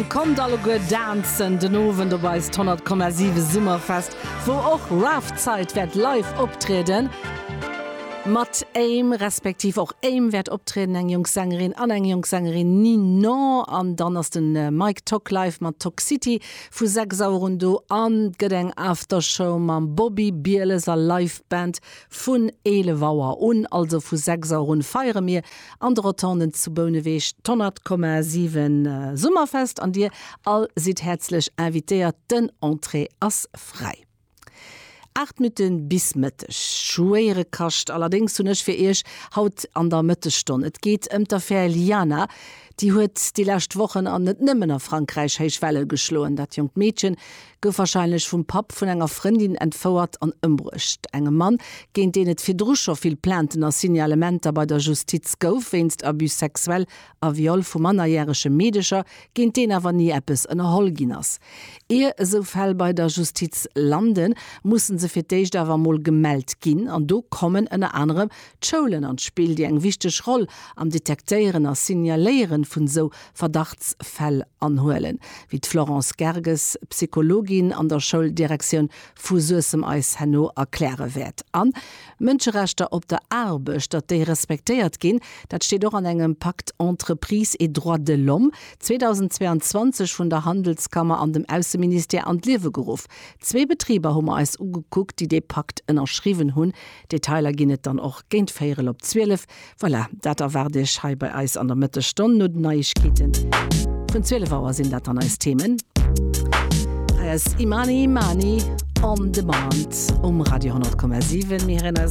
Kommt alleguer dancen den Owend op eist 100,7 Summerfest, wou och Rafzeit wäert live optrieden. Mat Aim, respektiv och Aim wäert optrieden, eng jonk Sängerin an eng jonk Sängerin Ninon. An dann ass de Mike Tock live mat Tock City vu 6 Auer un do an et gëtt eng Aftershow mam Bobby Bieles a Live Band vun 11 Auer un. Also vu 6 Auer un feiere mir An de Rotonden zu Bouneweg d'100,7 Summerfest an dir all sidd häerzlech invitéiert. Den Entrée ass fräi. 8 Minutte bis Mëtteg. Schwéiere Kascht allerdéngs hunn ech fir iech haut an der Mëttesstonn. Et geet ëm d'Affär Liana. Déi huet déi lescht Wochen an net nëmmen a Frankräich héich Welle geschloen. Dat jonkt Meedchen Gouf warscheinlech vum Papp vun enger Frëndin entfouert an ëmbruecht. Engem Mann, géint deen et virdru scho vill Plainten a Signalementer bei der Justiz gouf wéinst Abus sexuel a Viol vu mannerjärege Meedecher, géint deen awer ni eppes ënnerholl ginn ass. Ier esou Fäll bei der Justiz landen, musse se fir d'éischt awer emol gemellt ginn. An do kommen ënner anerem d'Schoulen an d'Spill, déi eng wichteg Roll am Detektéieren a Signaléieren vun esou Verdachtsfäll anhuelen, wéi d'Florence Gerges, Psychologin an der Schouldirektioun vu Suessem eis herno erkläre wäert. An Mënscherechter op der Aarbecht, datt déi respektéiert ginn, dat steet och an engem Pacte Entreprises et droits de l'homme, 2022 vun der Handelskammer an dem Ausseministère an d'Liewe geruff. Zwee Betriber hu mer eis ugekuckt, déi dee Pakt ënnerschriwwen hunn. Detailer ginn et dann och géint véierel op 12. Voilà, dat erwaart Iech hei bei eis an der Mëttesstonn. No den Neiegkeete vun 12 Auer sinn dat dann eis Themen. Hei ass Imani Imani On Demand um Radio 10,7. Mir héieren eis.